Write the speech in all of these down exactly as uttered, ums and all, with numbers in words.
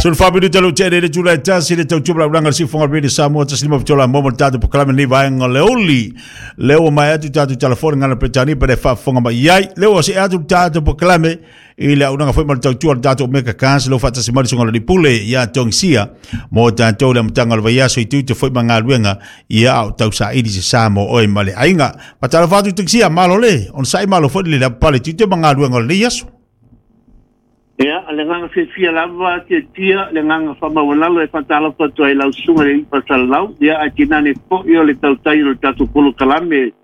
Sul fa bidu talo te le tula tasi le tau tubla ulanga si fonga rede Samoa tasi lima fitola momo tatu pokalame ni vaenga le oli le o mai atu tatu telefoni ngana petani pe fa fonga mai ai le o se atu tatu pokalame i le unanga foi mal tau tua tatu meka kans lo fata si mari songa le pule ia tongsia mo tatu le mtanga le vaiaso i tu te foi mangaluenga ia au tau sa ili se Samoa oi male ainga patala fatu tongsia malo le on sai malo foi le la pale tu te mangaluenga le yaso. Ia, le nganga fia lava te tia, le nganga whamawalalo e whantala whatua i lau sunga le ipa salau, ia a tinane po i o le tautai o le tātou polo kalame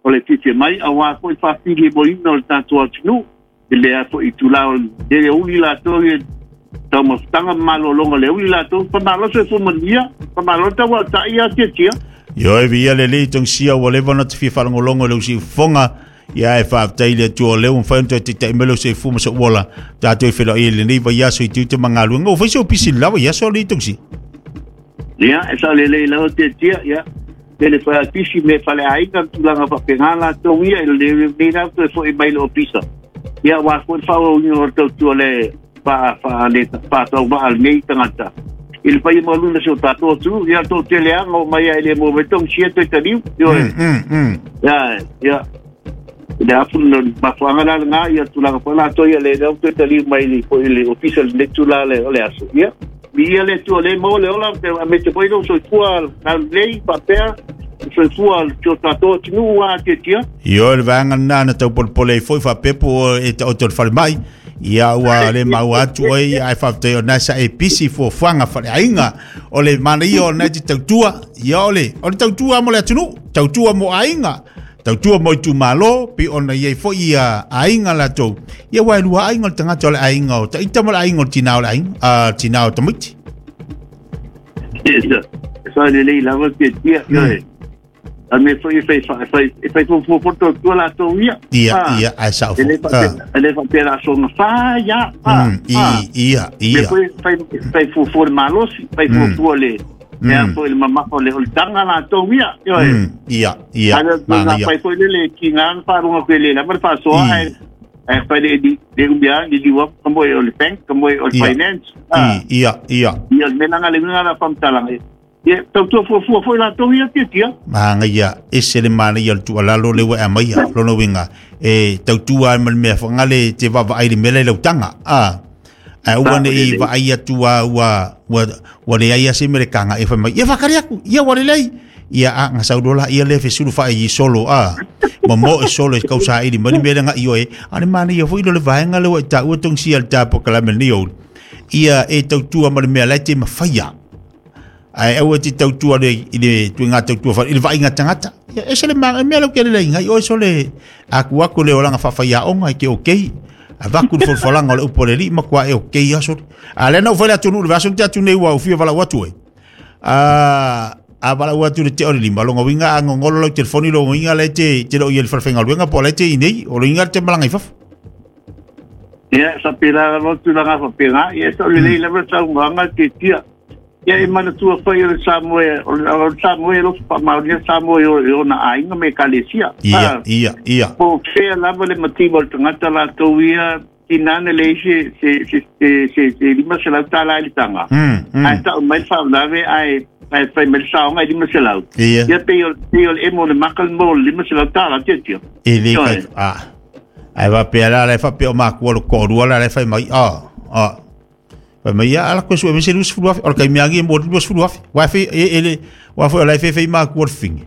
o le titi mai, a wā foi whawhili mo ina o le tātou atunu, i le a foi i tūla o le uli lātou i tau mawhtanga malolonga le uli lātou, whamaloso e fumania, whamaloso tau tai a te tia. Io e via le le tongsia o lewa na te fia whalangolongo le usi fonga. Ia e whaaftai le tua leo mwhai te te te melo se fuma sa uola tātou i whela i le nei vai aso i te mangaluenga o whaisi o pisi lawa ia so le tongsi. Ia e sa le le lau te tia ia te le whaia pisi me whale ainga tūlanga whapenga la tau ia i le nei rau toe fo i mai le o pisa. Ia wā koe whaua ungi o tau tua le wha wha le wha tau maa nei tangata. I le whai maluna se o tātou atu ia tō te leanga o mai ai le mō metong sia toe taniu. Ia ia le afu no mafuanga la nga ia tulaga fo la to ia le le to tali mai li fo le official le tula le le aso ia ia le tu le mo le ola te me te foi no so tua na lei papel so tua to tato tinu a te tia io le vanga na na tau pol pole foi fa pepo e to to fal mai ia ua le mau atu ai ai fa te na sa e pisi fo fanga fa ainga o le mana ia na te tautua ia ole o le tautua mo le atunu tautua mo ainga tautua mo tu malo pi ona ia fo ia ainga la tou ia wai lua ainga le tangata o le ainga o taita mo le ainga o tina o le ainga a tina o tamaiti. Yes, so le le lava te tia ioe a me foi fai fai fai fo fo fo to la tou ia ia ia ai sa fo ele fa pera so no fa ia i ia ia me foi fai fai fo fo malo fai fo fo le ia foi le mama o le tanga la tou ia ioe ia ia mana ia fai foi le ki ngan fa runga ko le la mar fa so ai ai fa le di de umbia di di wa como o le bank como o finance ia ia ia me nanga le nanga la fam tala ia tau tu fo fo foi la tou ia ti tia manga ia ese le mana ia tu ala lo le wa mai ia lo no winga e tau tu ai mal me fa ngale te va va ai le mele le tanga a a ua ne i va ai atua ua ua ua le ai se mere kanga e fa mai ia fakari aku ia ua le lei ia a nga saudola ia le fesulu fa i solo a mo mo e solo e kausa i mani mere nga io e ale mani ia foi lo le vaenga le wa ta ua tong si al ta po kala me ni o ia e tau tua ma le mea lai te mafaia ai au te tau tua le i le tu nga tau tua fa i le vainga tangata ia e se le ma me lo ke le ngai o so le aku aku le olanga fa fa ia onga ke okay avaku le folfolanga o le upo le li ma kua e o kei aso. A lena u whaile atu nuu le vaso te atu nei ua ufia wala watu e. A a wala watu le te ore lima. Longa winga a ngongolo lau telefoni longa winga le te te lo i el whalwhenga luenga po le te inei o lo inga te malanga i fafu. Ia sa pera lotu langa whapenga. Ia sa le lei lewa sa unganga te tia. Ia e mana tua whai o le Samoa o le Samoa lo whamaunia Samoa o na ainga me kalesia. Ia, ia, ia. Po whea lava le matima o le tangata la tau ia tinane le se se se se se lima se lau tala i le tanga. Ai tau mai whaulave ai ai whai mai saonga i lima se lau. Ia. Ia pe o le emo le makal mo le lima se lau tala tia tia. E le kai, ah. Ai wa pe ala le wha pe o makua lo korua la le whai mai, ah, ah. Vai mai ala ko sua mese lus fulu afi o kai miangi mo lus fulu afi wa fe e ele wa fo la fe fe ma ko fing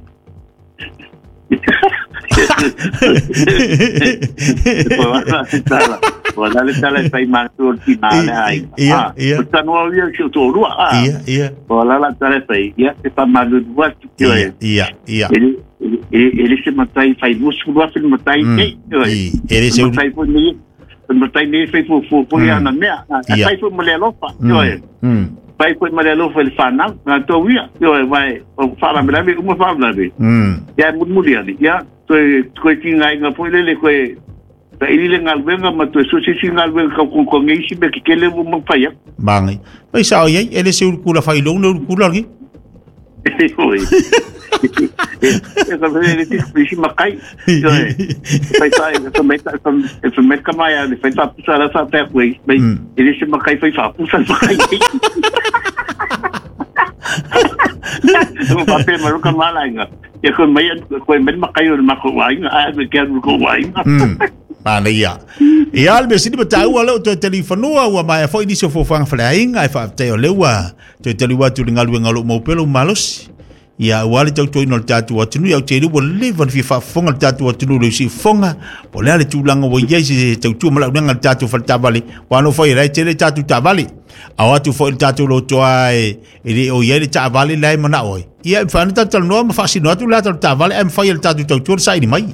Wala le tala fai ma ko ti ma le ai ia ia ta no ia ki to rua ah ia ia wala la tala fai ia te pa ma lu wa ti ia ia ia ele ele se matai fai lus fulu afi matai nei ele se matai fo ni matai nei fai fo fo fo ia na mea fai fo mo le alofa ioe fai fo mo le alofa le whanau ngā tau ia ioe vai o wharamelawe uma wharamelawe ia mulimuli ali ia toe koe ki ngai ngā foi lele koe ta ili le ngaluenga ma toe sosisi ngaluenga kau kongkonge isi me kekele mo mawhai mangai fai sao iai ele se urukula whai long le urukula ki oi E ka le ti si makai. Fai sai e mai ta e mai ka mai a fai fa pusa la fa pe kui. Mai e se makai fai fa pusa makai. O pa pe ma ka mala inga. E ko mai ko mai makai o ma ko wai a me ke ko wai. Manaia. Ia le mesini ma tāua leo toe talifanua ua mai foi nisi o fofoanga faleaiga e faafetai o lea ua toe taliu atu i le galuega o lou maupele malosi. Ia ua le tautuaina o le tatou atunuu ia ou te iloa ua leva ona fia faafofoga le tatou atunuu i le usiufofoga po o le a le tulaga ua i ai se tautua ma laulega le tatou faletavale ua nofo ai la e tele tatou taavale. Ao atu foi le tatou lotoa e e le o i ai le taavale la e manao ai. Ia e mafai ona tatou talanoa ma faasino atu le tatou taavale ae mafai e le tatou tautua le saili mai.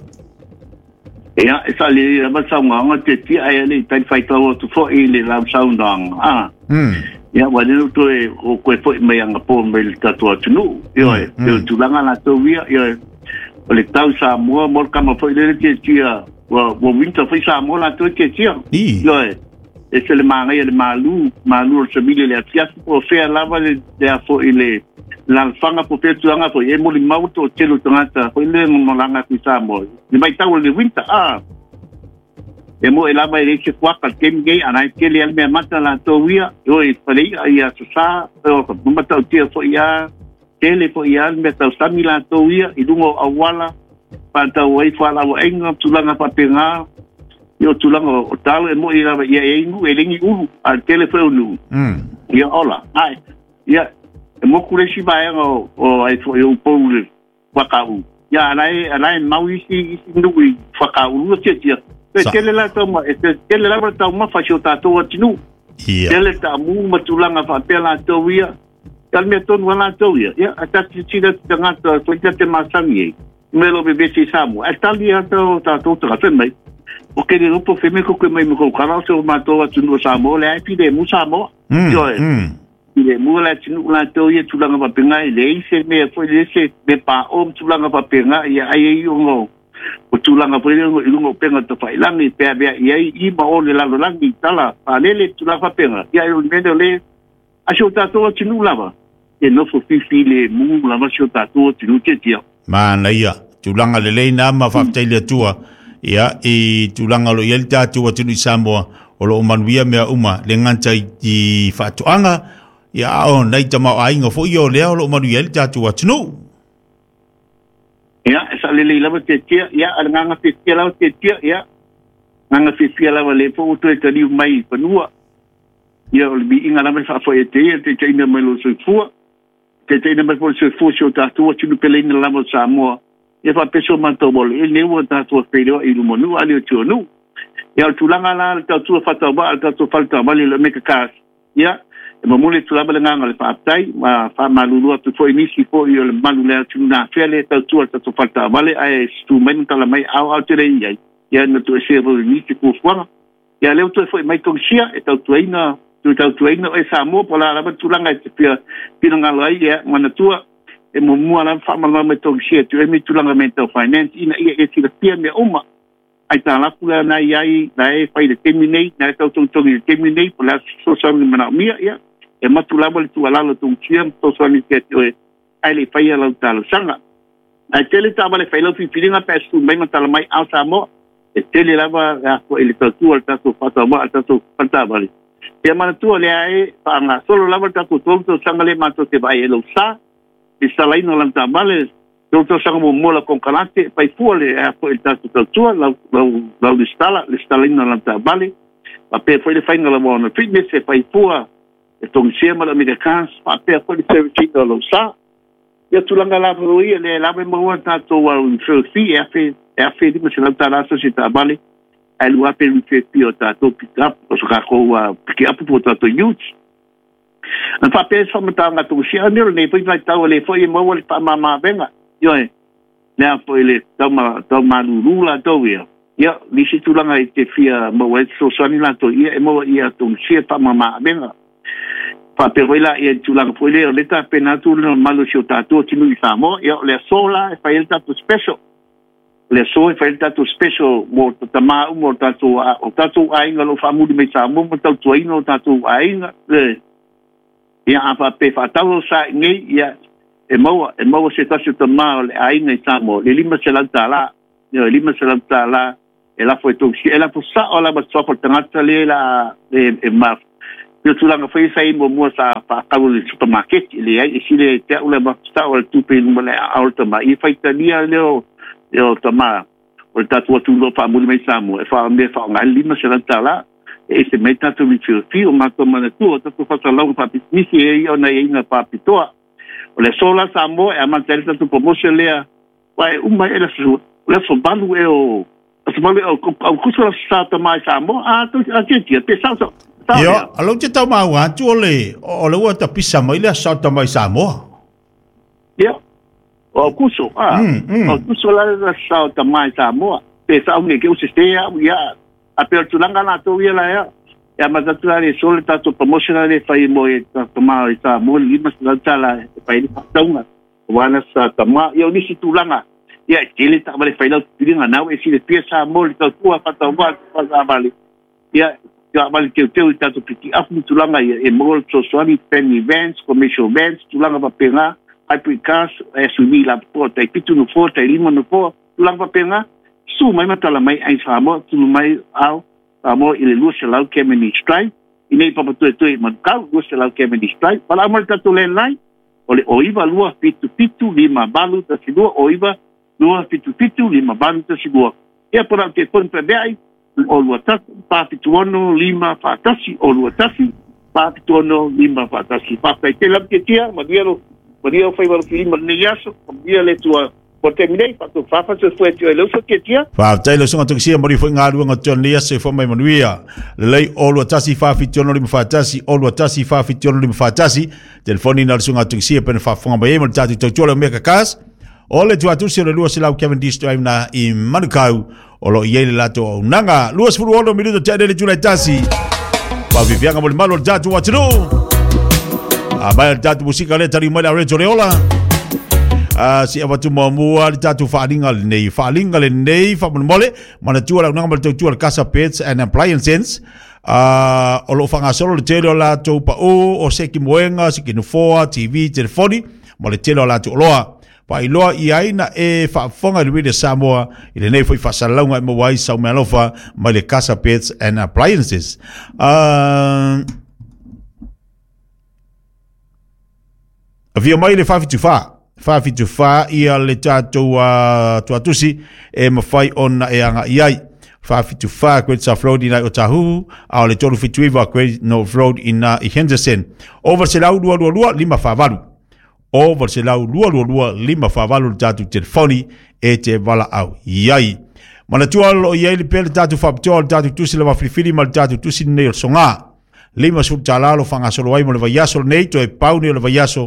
Ia, e sa le lava saunoaga te tia ai le tai faitau atu foi le lau saunoaga. Ah. Mm. Ia wa le toe o koe foi mai anga po mai le tatou atunuu. Ia, e tulaga latou ia, ia o le tau Samoa mo le kama foi le te tia wa wa winter foi Samoa latou te tia. Ia, e se le mangai le malu, malu o se mile le afiafi po fea lava le le afo i le la fanga po fe tuanga foi e mo le mau to telo tangata foi le ngolanga ku Samoa. Le mai tau le winter ah. E mo e lava e le se kuaka kem gei anai ke le alme mata la to ia oi pale ia so sa o ka mata o tia foi ia tele foi ia me tau sami la to ia i lungo awala pa tau ai fa la o enga tulanga pa penga yo tulanga o talo e mo i lava ia e ingu e lengi ulu a tele foi unu mm ia ola ai ia e mo kure si vai o o ai foi o poule whakau ia anai anai mau isi isi nui whakau lu tia tia e tele la tau ma e tele la tau ma fa sio tatou atinu tele ta mu matulanga fa pela tau ia tal me tonu ala tau ia ia a ta ti tira tangata to te masangi me lo bebe si samu e tali a tau tatou ta fe mai o ke le po fe me ko ke mai mo kala so ma to atinu Samoa le ai pide mu Samoa yo le mu la tinu la tau ia tulanga pa penga le se me foi le se me pa o tulanga pa penga ia ai o ngo o tulanga foi le ngo penga to fai langi pe be ia i ma o le la langi tala pa le le tulanga pa penga ia o me le a sho ta to tinu lava e no fo fi le mu la ma sho ta to tinu te tia mana ia tulanga le le na ma fa te le tua ia i tulanga lo ia ta tua tinu Samoa o lo manuia mea uma le nganta i faatoaga ia o nei tama ainga fo io lea o lo manuia le tatou atunuu. Ia, e sa lelei lava te tia, ia, a le nganga fiafia lava te tia, ia, nganga fiafia lava le po o toe taliu mai i fanua. Ia, o le miiga lava le faafoi e te ia, te teina mai lo soifua, te teina mai po le soifua si o tatou atunu peleina lava o Samoa. Ia faapeso matou mo le e leu o tatou feiloa i lumanuu a le o tuanuu. Ia, o le tulaga la le tautua faatauvaa le tatou faletavale le meka kasi. Ia, e mamule tu lava le nganga le faaptai ma faamalulu atu foi nisi foi o le malu le atunu na afea le tautua le tatou faletavale ae tu mai ma tala mai ao ao tele i ai ia na toe se ro nisi fuafuaga ia lea ua toe foi mai togisia e tautuaina toe tautuaina o e Samoa po la lava tulaga e te fia finagalo ai ia manatua e muamua lava faamalama mai togisia tu e mi tulaga me tau finance ina ia e silafia mea uma ai tā lapu lea na i ai na e fai le temi nei na e tautogitogi le temi nei po le a fesoasoani manaomia ia e matu lava le tuualalo togisia ma fesoasoani te ati oe ai le faia lau talosaga ae tele taavale fai lau filifiliga pe a mai ma tala mai ao Samoa e tele lava e le tautua le tatou faatauvaa le tatou faletavale ia manatua lea e faagasolo lava le tatou tolu tausaga le matou te vaai e lou sa i salaina o lana taavale tolu tausaga muamua la konekarate faifua le ea foi le tatou tautua lau lau lau lesitala lesitalaina o lana taavale faapea foi le faiga lava ona fitness e faifua e togisia ma le Americans faapea foi le servicina o lou sa ia tulaga lava o ia le lava e maua tatou au referral fee e afe e afe lima selau tala aso se taavale ae lua afe referral fee o tatou pick up o so kakou pick up po tatou youth na faapea se faamatalaga togusia ane o lenei foi vaitau e lē foi e maua le faamāmāvega ioe lea foi le tau malūlū latou ia ia nisi tulaga i te fia maua ai fesoasoani latou ia e maua ia togusia faamāmāvega faapea foi la ia tulaga foi lea o le tapena atu le mamalu o si o tatou atunuu i Samoa ia o le aso la e fai ai le tatou special le aso e fai ai le tatou special mo tatamā uma o tatou o tatou aiga o loo faamuli mai Samoa ma tautuaina o tatou aiga le ia a faapea faatau lau sa i nei ia E maua e maua se tasi o tamā o le aiga i Samoa le lima selau tālā ioe lima selau tālā e lafo e tou e lafo sa'o lava suafa o le tagata lea la e e ma o tulaga foi sa i muamua sa fa'atau i le supamaketi e leai e sile te a'u le mafasa'o le tupe i luma le aao le tamā ia faitalia lea o e o tamā o le tatou atunuu fa'amuli mai Samoa e fa'amea fa'aoga ai le lima selau tālā e ese mai tatou i o matou manatua o tatou fa'asalauga fa'apisimisi e ia ona iaiga fa'apitoa o le aso la Samoa e amata ai le tatou promotion lea uae uma e le aso le aso valu e o aso valu e o Aukuso la sa tamā i Samoa a atiatia pe sao sao Io, alo te tau mau atu o le o le ua tapisa mai le aso tamā i Samoa. Ia, o Aukuso, a Aukuso la le sa tamā i Samoa pe sao nge ke o se te au ia a pe o tulaga latou ia la ea e amata atu la le aso le tatou promotion le fai mo e tamā i Samoa le lima selau tālā e fai ai le fa'atauga auā na sa tamā ia o nisi tulaga ia e tele ta'avale fai lau piliga nau e silafia Samoa le tautua fa'atauvā fa'asavale ia ta'avale teuteu i tatou piti'afu ma tulaga ia e maua le fesoasoani family vans commercial vans tulaga fa'apegā hybrid cars S U V lapopoa tai fitu nofoa tai lima nofoa tulaga fa'apegā su mai ma tala mai ai Samoa tulu mai ao Samoa i le lua selau Cavendish Drive i nei papatoetoe i Manukau lua selau Cavendish Drive pala'au mai le tatou landline o le o iva lua fitu fitu lima valu tasi lua o iva lua fitu fitu lima valu tasi lua ia po la'u telefoni peavea'i o lua tasi pa fitu ono lima fa'atasi o lua tasi pa fitu ono lima fa'atasi fa'afetai tele lava tiatia manuia lo manuia o faiva lofilima lenei aso manuia le Atua o taimi nei fa'atou fa'afasoifua e tio e le uso tiatia. Fa'afetai le usoga tokisia moli foi galuega o te aso e fo mai manuia. Lelei o lua tasi fa'afitu ono lima fa'atasi o lua tasi fa'afitu ono lima fa'atasi telefoni na le usoga tokisia pena fa'afofoga mai ai ma le tatou tautua le omega cars o le tuatusi o le lua selau Cavendish Drive na i Manukau o lo i ai le latou auaunaga luasefulu ono minuto te'ane le itula e tasi fa'afiafiaga mo le malu o le tatou atunuu a mai le tatou musika lea taliu mai le aureto le ola a si avatu muamua le tatou fa'aliga lenei fa'aliga lenei fa'amolemole manatua le auaunaga ma le tautua le Casa Pets and Appliances uh, o lo'o fa'agasolo le tele o latou pa'ū o seki moega seki nofoa T V telefoni ma le tele o latou oloa fa'ailoa i ai na e fa'afofoga i le Radio Samoa i lenei foi fa'asalalauga e maua ai saumealofa mai le Casa Pets and Appliances. Uh, Avia mai le fa'afitu fā fa'afitu fā ia le tatou uh, tuatusi e mafai ona e aga'i ai fa'afitu fā Great South Road ina i Otahuhu a o le tolu fitu iva Great North Road ina i Henderson. Ova selau lua lua lua lima fa'avalu ova selau lua lua lua lima fa'avalu le tatou telefoni e te vala'au iai. Manatua lo i ai le pea le tatou fa'apitoa le tatou tusi le mafilifili ma le tatou tusi lenei o le sogā. Lima sulu tālā lo fa'agasolo ai mo le vaiaso lenei toe pau nei o le vaiaso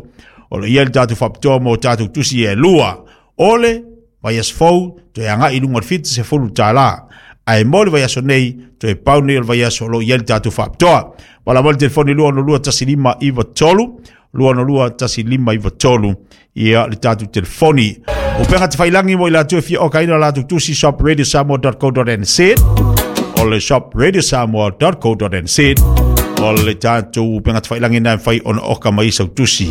o lo i ai le tatou fa'apitoa mo tatou tusi e lua. O le vaiaso fou toe aga'i i luga o le fitu sefulu tālā. Ae mo le vaiaso nei toe pau nei o le vaiaso o lo i ai le tatou fa'apitoa. Pala mo le telefoni lua ono lua tasi lima iva tolu lua ono lua tasi lima iva tolu ia le tatou telefoni. O penga te whailangi mo i latou e fia okaina latou tusi shop radio samoa dot co dot n z o le shop radio samoa dot co dot n z o le tatou penga te whailangi nai whai ona oka mai sau tusi.